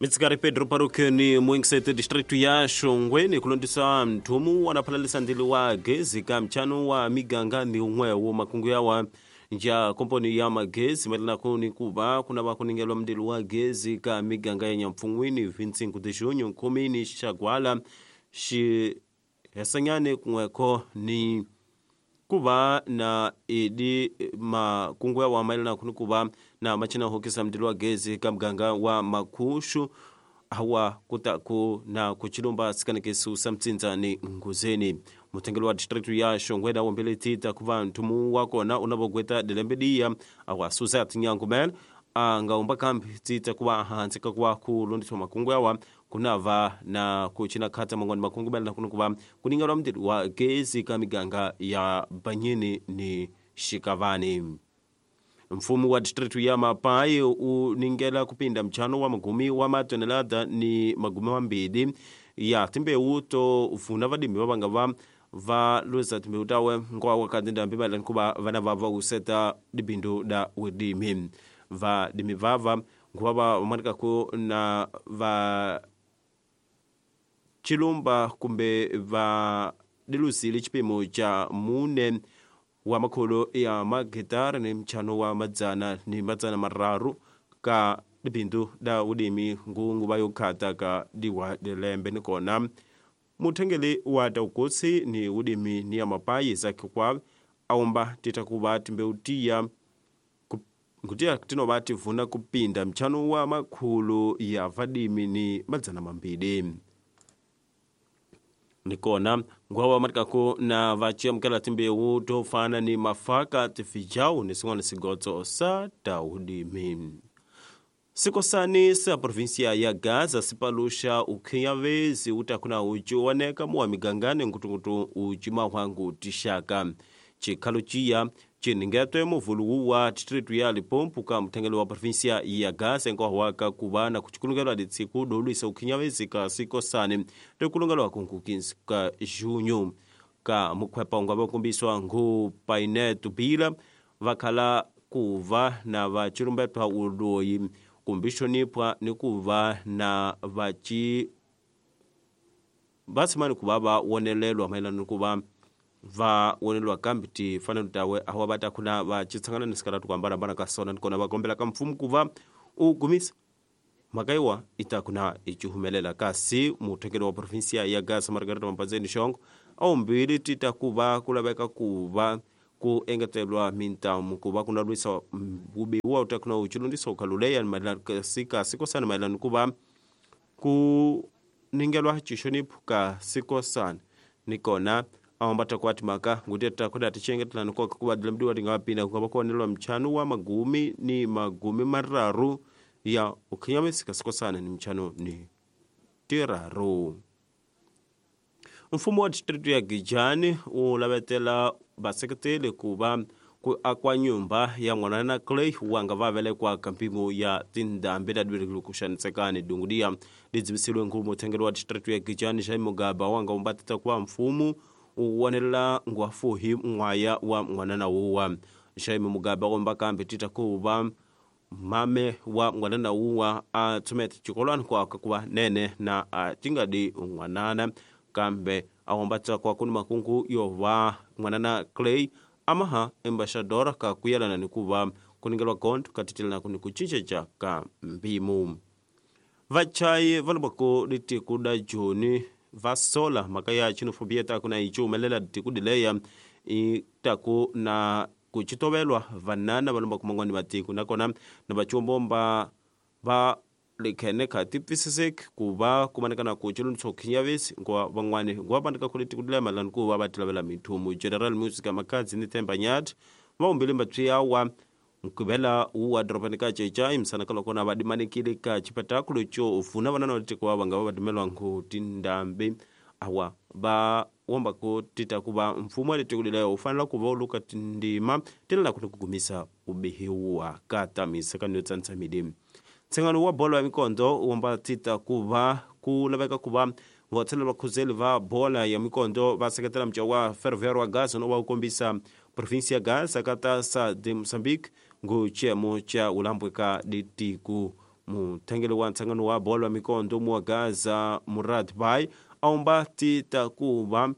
Mitsikari Pedro Parukeni muingisete distritu ya Shongweni kulondisa mthumu wanaphalalisa ndili wa gezi ka mchano wa miganga ni umwewo makungu yawa nja komponi ya magezi maelana kuni kuva kuna vakuningelwa mndili wa gezi ka miganga ya Nyampfungwini 25 de junho nkhumini Xagwala xihesanyane kun'wekho ni kuva na edi makungu yawa maelana kuni kuva na machina hokisa mndili wa gezi ka muganga wa Makhushu awa kutaku na kuchilumba sikanekesu sa mtsindza ni Nguzeni. Mutengeli wa distritu ya Shongwe na wombele tita kuva nthumu wakona unavogweta dilembe diya awa Suzette Nyangumel angaumba kambi tita kuva hansi kakuva kulondiswa makungu yawa kunava na kuchina khata mangwani makungu maelana kuni kuva kuningelwa mndili wa gezi ka miganga ya Banyini ni Xikavani. Mfumo wa distritu ya Mapai uningela kupinda mchano wa magumi wa matonelada ni magumi mambili ya timbewu to vuna vadimi vavanga va luza timbewu tawe nkwa wakati ndambi maelana kuva vana vava useta dibindu da udimi vadimi vava nkuva vamanikako na va chilumba kumbe va dilusile chipimo cha mune wa makholo ya magitara ni mchano wa madzana ni madzana mararu ka dibindu da udimi ngungu va yokhata ka diwa dilembe nikona muthengeli wa taukotsi ni udimi ni ya Mapai Isaac kwa aumba titakuva timbewu tiya ngutiya tinova tivuna kupinda mchano wa makhulu ya vadimi ni madzana mambili. Nikona ngwawa matikako na vachiamukela timbewu tofana ni mafaka tifijau ni sin'wana sigotso sa taudimi. Sikosani sa provinsia ya Gaza sipalusha ukhinyavezi utakuna uchiwoneka muwa migangani nkutunkutu uchima hwangu tixaka. Chikhalo ciya chiningetwe muvulu wa distritu ya Limpopo ka muthengeli wa provinsia ya Gaza enkohwaka kuva na kuchikulungelwa ditsiku dolwisa ukhinyavezi ka sikosani rikulungelwa kunkukinsi ka junho ka mukhwepa ungava kumbiswa ngu Paineto Bila vakhala kuva na vachilumbetwa uloyi kumbixonipwa ni kuva na vachi vatshimani kuva va wonelelwa mayelana ni kuva va wonelwa kambi tifanelo tawe awa va ta kuna va chitshangana ni sikaratu ku hambanahambana ka sona nikona va kombela ka mfumo ku va u gumisa mhaka yiwa i ta kuna i cihumelela kasi muthekeli wa provinsia ya Gaza Margareta Mapazeni Xongo a wumbili ti ta ku va ku laveka ku va ku engetelwa mintamu ku va ku na lwisa vubiwa u ta kuna u chilundisa ukhaluleya mayelana ka sikosana mayelana ku va ku ningelwa chixoniphu ka sikosana nikona awambata kwa timaka nguteta kuda tichengetela nikoka kuva dilemdiwa tingavapinda kungava kuonelwa mchano wa magumi ni magumi mararu ya ukhinyamisi sikosana ni mchano ni tiraru. Mfumo wa distritu ya Gijani ulavetela vaseketeli kuva ku akwa nyumba ya n'wanana Clay wanga va velekwa ka mpimo ya tindhambi ta dibirikulu ku xanisekani dungudiya lidzivisiliwe nkulu muthengeli wa distritu ya Gijani Jaime Mugaba wanga umbatita kuva mfumo u wonelela ngwafuhi n'waya wa n'wanana wuwa. Jaime Mugabe komba kambe tita kuva mame wa n'wanana wuwa a tsumete chikolwani kwaka kuva nene na a tingadi n'wanana kambe awombatsa kwa kuni makungu yova n'wanana Clay amaha embaixadora ka kuyelana ni kuva kuningelwa gondo katitelana kuni kucinceca ka mpimu. Vachayi va lobako litiku da Joni va sola mhaka ya xenofobia taku na yi humelela tiku dileya i taku na ku chitovelwa vanana va lombaka man'wani matiko nakona na vachumbomba va likhene kha tipfisiseki ku va kumaneka na ku chilundisa khinyavesi nkuva van'wani nkuva vandika ku letiku dileya mayelana ku va va tilavela mithumu. General Music Makhadzi ni Themba Nyathi va humbile mbatswiyawa nkuvela wu wa dorobeni ka Cecai misana ka loko na va dimanikile ka xipetakulo xo vuna vanana va tiko va nga va dimelwa ngu tindhambi awa va womba ku tita ku va mfumo wa le tiko leyo wu fanela ku va wu luka tindzima ti lava ku gumisa ubihiwa ka tamisa ka niyo tsanisa midi. Ntshengano wa bolo ya mikondo wu womba tita ku va ku laveka ku va vatshelela vakhuzeli va bola ya mikondo va seketela mca wa Ferroviário wa Gaza no va wu kombisa provinsia ya Gaza ka ta sa de Moçambique ngu chiemo cha ulambwe ka ditiku. Muthengeli wa ntshangano wa bolo ya mikondo wa Gaza Murad Bai aumba tita kuva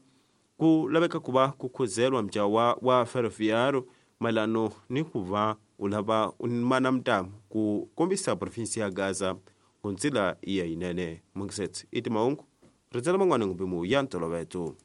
ku laveka ku va ku khuzelwa mjawa wa Ferroviário mayelano ni ku va u lava mana mtamu ku kombisa provinsi ya Gaza ku ndzila ya yinene. Mungisetsi i timahungu ritsela man'wana ngumbimu ya ntoloveto.